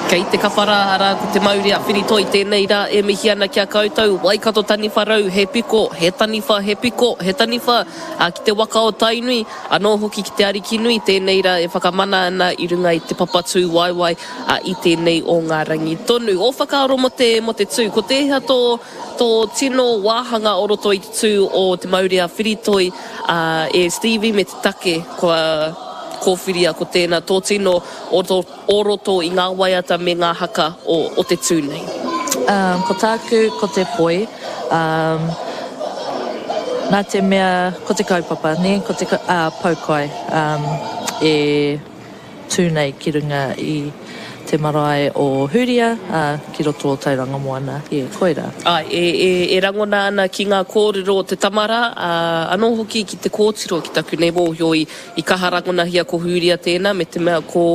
Kei te kapa rā, arā, ko te mauri a Whiritoi tēnei rā e mihi ana ki a koutou, Waikato taniwha rau, he piko, he taniwha, he piko, he taniwha, ā, ki te waka o Tainui, anō hoki ki te Arikinui tēnei rā e whakamana ana i runga i te papa tū waewae, ā, i tēnei o ngā rangi tonu. Ō whakaaro mō te, mō te tū, ko tēhea tō, tō tino wāhanga o roto i te tū o te mauri a Whiritoi, ā, e Stevie me te take kua kōwhiria ko tēnā tō tino o o roto i ngā waiata me ngā haka o o te tū nei. Um, ko tāku, ko te poi, um, nā te mea, ko te kaupapa, nē, ko te, ā, poukai, um, e tū nei ki runga i te marae o Huria, ā, ki roto o Tauranga Moana, yeah, koirā. Āe, e, e, e rangona ana ki ngā kōrero o te tama rā, ā, anō hoki ki te kōtiro, ki taku nei mōhio i, I kaha rangonahia ko Hūria tēnā, me te mea ko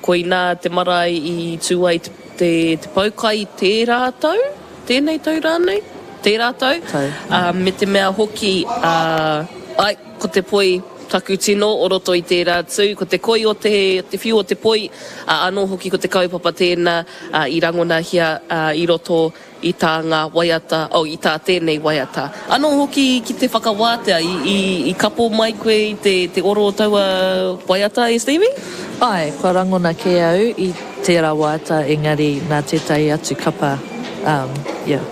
koinā te marae i tū ai te, te, te poukai i tērā tau, tēnei tau rānei, tērā tau, Tau. ā, me te mea hoki, ā, ai, ko te poi taku tino o roto i tērā tū, ko te koi o te, te whiu o te poi, ā, anō hoki ko te kaupapa tēnā, ā, i rangonahia, ā, i roto I tā ngā waiata, oh, i tā tēnei waiata. Anō hoki ki te whakawātea, i, i, i kapo mai koe i te, te oro o taua waiata e Stevie? Āe, kua rangona kē au i tērā waiata engari nā tētahi atu kapa, um, yeah,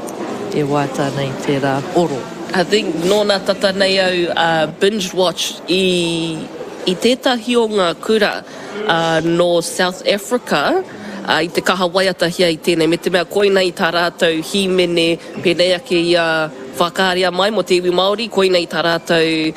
e waiata ana i tērā oro. I think nōna tata nei au uh, binge watch i, i tētahi o ngā kura uh, nō South Africa, ā, i te kaha waiatahia i tēnei, me te mea koinei tā rātou hīmene pēnei ake i a Whakaaria Mai mō te iwi Māori, koinei tā rātou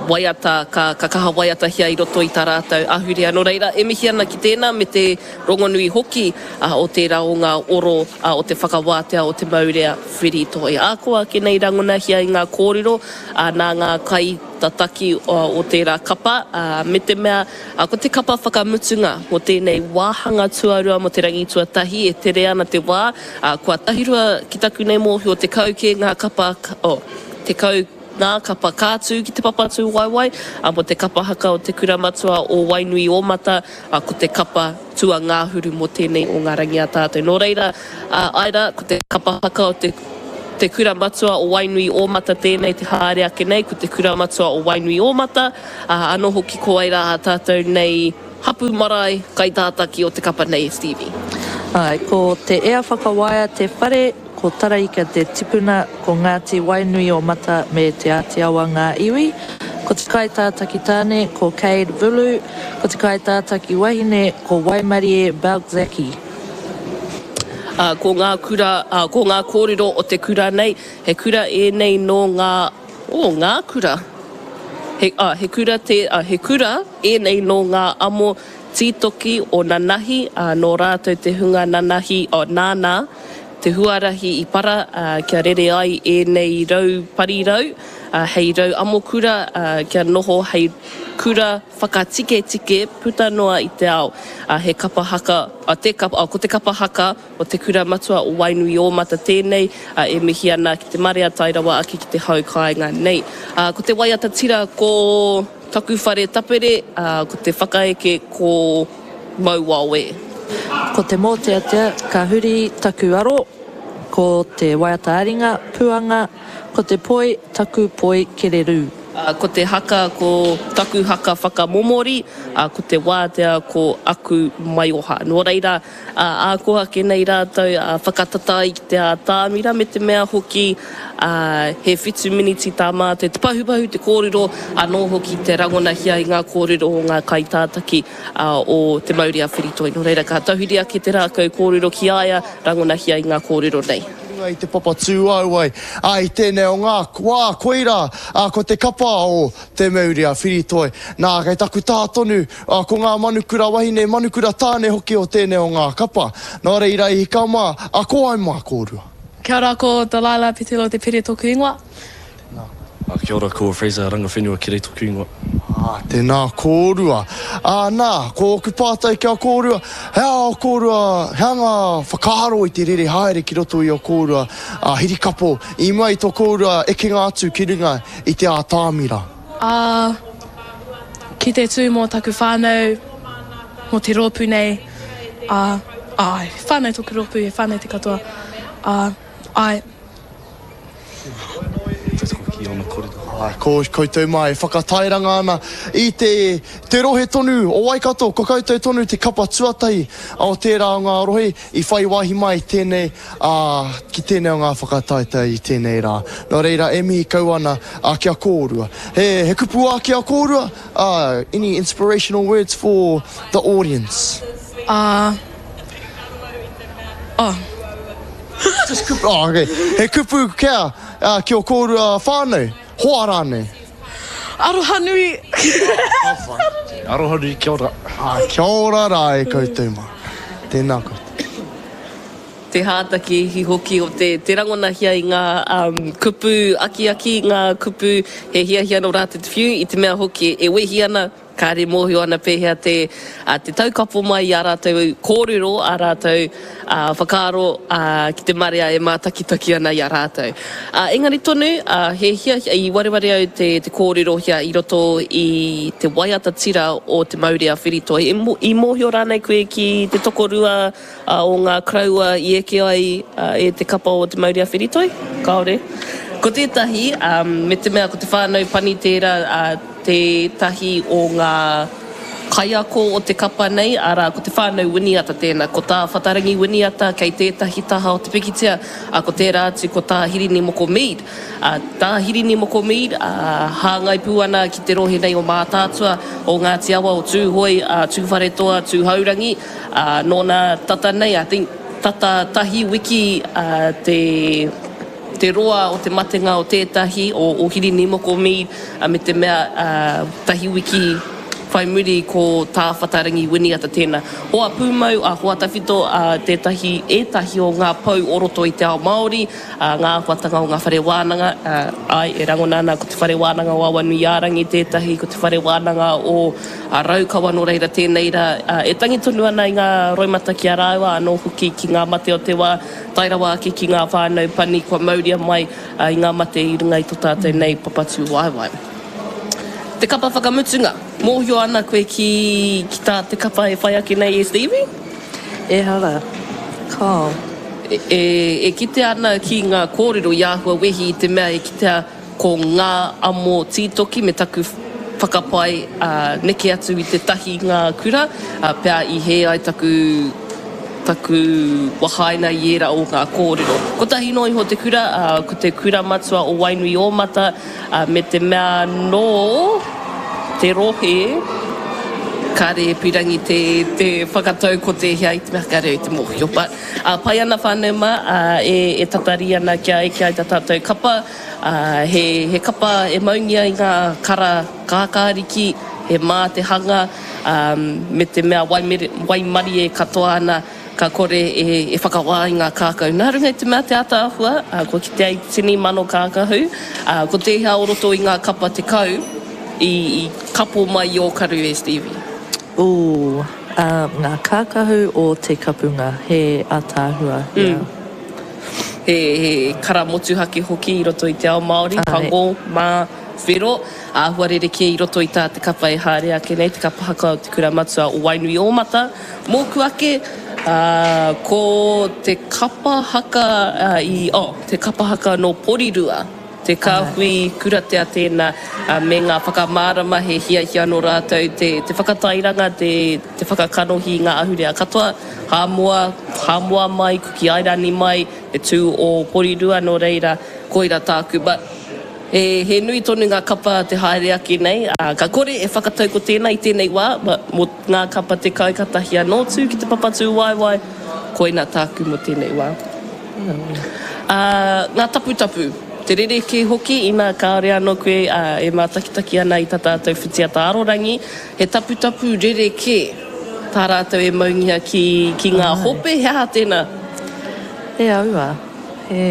waiata ka, ka kaha waiatahia i roto i tā rātou ahurea. Nō reira, e mihi ana ki tēnā me te rongonui hoki o tērā o ngā oro o te whakawātea o te maurea whiritoi. Ā, ko ake nei rangonahia i ngā kōrero nā ngā kaitataki o tērā kapa, ā, me te mea, Ā, ko te kapa whakamutunga mō tēnei wāhanga tuarua mō te rangi tuatahi e tere ana te wā, ā, kua tahirua ki taku nei mōhio 10 kē ngā kapa, oh, 10 ngā kapa ka tū ki te papa tūwaewae, ā, mō te kapa haka o te Kura Matua o Wainuiōmata, ā, ko te kapa tuangahuru mō tēnei o ngā rangi a tātou. Nō reira, ā, āe rā, ko te kapa haka o te Te Kura Matua o Wainuiōmata tēnei te haere ake nei, ko te Kura Matua o Wainuiōmata, Ā, anō hoki ko wai rā ā tātou nei hapū marae kaitātaki o te kapa nei e Stevie. Āe, ko Te Ea Whakawaea te whare, ko Taraika te tipuna, ko Ngāti Wainuiomata me Te Āti Awa ngā iwi. Ko te kaitātaki tāne, ko Cade Vulu, ko te kaitātaki wahine, ko Waimarie Belczaki. Ā, ko ngā kura, ā, ko ngā kōrero o te kura nei, he kura ēnei nō ngā, oh, ngā kura. He, ā, he kura tē, ā, he kura ēnei nō ngā amo tītoki o nanahi, ā, nō rātou te hunga nanahi, ā, nāna te huarahi i para, ā, kia rere ai ēnei rau parirau, ā, hei rau amokura, ā, kia noho hei kura whakatiketike puta noa i te ao. Ā, he kapa haka, ā, te kapa, ā, ko te kapa haka O te Kura Matua o Wainuiōmata tēnei, ā, e mihi ana ki te marea tae rawa ake ki te hau kāinga nei. Ā, ko te waiata tira ko Taku Whare Tapere, ā, ko te whakaeke ko Mauao e. Ko te mōteatea Ka huri taku aro, ko te waiata-ā-ringa Puanga, ko te poi Taku poi kererū. Ā, ko te haka ko Taku haka whakamomori, ā, ko te wātea ko Aku maioha. Nō reira, Ā, ā ko ake nei rātou, ā, whakatata ai ki te ātamira, me te mea hoki, ā, he whitu miniti tā mātou te pahupahu, te kōrero, anō hoki te rangonahia i ngā kōrero o ngā kaitātaki, ā, o Te Mauri a Whiritoi. Nō reira, ka tahuri ake te rākau kōrero ki a ia, rangonahia i ngā kōrero nei. Ki runga i te papa tūāuai, ā, i tēnei o ngā wā, koirā, ā, ko te kapa o Te Mauri a Whiritoi. Nā, kei taku taha tonu, Ā, ko ngā manukura wahine, manukura tāne hoki o tēnei o ngā kapa. Nō reira i hika mā, ā, ko wai mā kōrua? Kia ora, ko Delilah Petelo Te Pere toku ingoa. Tēnā koe. Ā, kia ora, ko Fraser Rangawhenua Kerei toku ingoa. Ā, tēnā kōrua. Ā, nā, ko ōku pātai ki a kōrua, he aha ō kōrua, he aha ngā whakaaro i te rere haere ki roto i ō kōrua, ā, hirikapo i mua i tō kōrua ekenga atu ki runga i te ātamira? Ā, ki te tū mō taku whānau, mō te rōpū nei. Ā, āe, he whānau tōku rōpū, he whānau te katoa. Ā, āe. Tautoko ki ōna kōrero. Āe, ko koutou mā e whakatairanga ana i te, te rohe tonu o Waikato, ko koutou tonu te kapa tuatahi o tērā o ngā rohe i whai wāhi mai tēnei, ā, ki tēnei o ngā whakataetae i tēnei rā. Nō reira, e mihi kau ana, ā, ki a kōrua. He, he kupu ā ki a kōrua? Ā, any inspirational words for the audience? Ā, oh. Just kupu, oh, okay. He kupu kia, uh, ki o kōrua whānau, hoa rānei? Aroha nui. Aroha nui, kia ora. Ah, kia ora rā e koutou mā. Tēnā koutou. Te hātakihi hoki o te, te rangonahia i ngā um, kupu akiaki, ngā kupu he hiahia nō rātou te whiu, i te mea hoki e wehi ana, Kāre mōhio ana pēhea te, te taukapo mai i ā rātou kōrero, ā rātou whakaaro ki te marea e mātakitaki ana i a rātou. Engari tonu, he hiahia, i wareware au te, te kōrerohia i roto i te waiata tira o Te Maurea Whiritoi. I mōhio rānei koe ki te tokorua o ngā koroua i eke ai e te kapa o Te Mauri-a-Whiritoi? Kāore. Ko tētahi, me te mea ko te whānau pani tērā, tētahi o ngā kaiako o te kapa nei, arā, ko te whānau Winiata tēnā. Ko tā Whatarangi Winiata kei tētahi taha o te pikitia, ā, ko tērā atu ko tā Hirini Moko Mead. Ā, tā Hirini Moko Mead, ā, hāngai pū ana ki te rohe nei o Mātaatua, o Ngāti Awa, o Tūhoe, ā, Tūwharetoa, Tūhourangi, Ā, nōna tata nei, I think, tata tahi wiki, ā, te, te roa o te matenga o tētahi, o, o Hirini Moko Mead, ā, me te mea, ā, tahi wiki whai muri ko Tā Whatarangi Winiata tēnā. Hoa pūmau, ā, hoa tawhito, ā, tētahi, ētahi o ngā pou o roto i te ao Māori, ā, ngā āhuatanga o ngā whare wānanga, ā, āe, e rangona ana ko Te Whare Wānanga o Awanuiārangi tētahi, ko Te Whare Wānanga o A Raukawa nō reira tēnei rā, e tangi tonu ana i ngā roimata ki a rāua, anō hoki ki ngā mate o te wā, tae rawa ake ki ngā whānau pani kua mauria mai i ngā mate i runga i tō tātou nei papatūwaewae. Te kapa whakamutunga, mōhio ana koe ki, ki tā te kapa e whai ake nei e Stevie? Ehara, kāo. E, e, e kitea ana ki ngā kōrero i āhua wehi i te mea e kitea Ko ngā amo tītoki me taku whakapae neke atu i te tahi ngā kura, pea i hē ai taku taku wahaina i ērā o ngā kōrero. Kotahi noa iho te kura, ko te Kura Matua o Wainuiōmata, me te mea nō te rohe, kāre e pirangi te te whakatau ko tēhea i te mea kāre au i te mōhio. But, pai ana whānau mā, e tatari ana kia eke ai tā tātou kapa. Ā, he, he kapa e maungia i ngā kara kākāriki, he mā te hanga, ā, me te mea waimere, waimarie katoa ana, ka kore e, e whakawā i ngā kākau. Nā runga i te mea te ātaahua, ā, kua kitea i te tini mano kākahu, ā, ko tēhea o roto i ngā kapa 10 i, i kapo mai i ō karu e Stevie? Ooh, ā, ngā kākahu o te kapunga, he ātaahua, yeah. He kara motuhake hoki i roto i te ao Māori, pango, mā, whero, āhua rerekē i roto i tā te kapa e haere ake nei, te kapa haka o te kura matua o Wainuiōmata. Mōku ake, ko te kapa haka i, oh, te kapa haka nō Porirua, te kāhui kuratea tēnā, me ngā whakamārama he hiahia nō rātou te whakatairanga, te. Te whakakanohi i ngā ahurea katoa, Hāmoa, Hāmoa mai, Kuki Airani mai, te tū o Porirua, nō reira, koira tāku. But, he, he nui tonu ngā kapa te haere ake nei, ā, ka kore e whakatau ko tēnā i tēnei wā, but mō ngā kapa 10 katahi anō tū ki te papatūwaewae, koina tāku mō tēnei wā. Ā, ngā taputapu, te rerekē hoki inā kāore anō koe e mātakitaki ana i tā tātou whitiata arorangi, He taputapu rerekē tā rātou e maungia ki, ki ngā hope, he aha tēnā? He aua, he.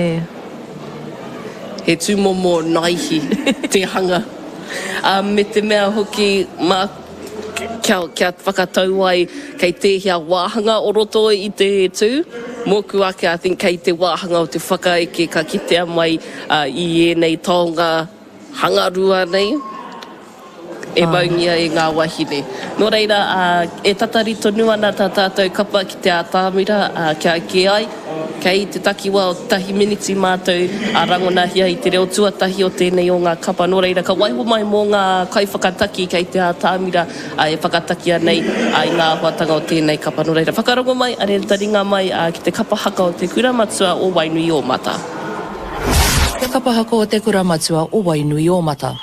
He tūmomo naihi te hanga. Ā, me te mea hoki, mā, kia, kia whakatau ai kei tēhea wāhanga o roto i te tū. Mōku ake, I think kei te wāhanga o te whakaeke ka kitea mai i ēnei taonga hangarua nei. E maungia e ngā wahine. Nō reira, e tatari tonu ana tā tātou kapa ki te ātamira kia eke ai. Kei te takiwā o tahi miniti mātou a rangonahia i te reo tuatahi o tēnei o ngā kapa. Nō reira, ka waiho mai mō ngā kaiwhakataki kei te ātamira e whakatakia nei i ngā āhuatanga o tēnei kapa. Nō reira, whakarongo mai, are taringa mai ki te kapa haka o Te Kura Matua o Wainuiōmata. Te kapa haka o Te Kura Matua o Wainuiōmata.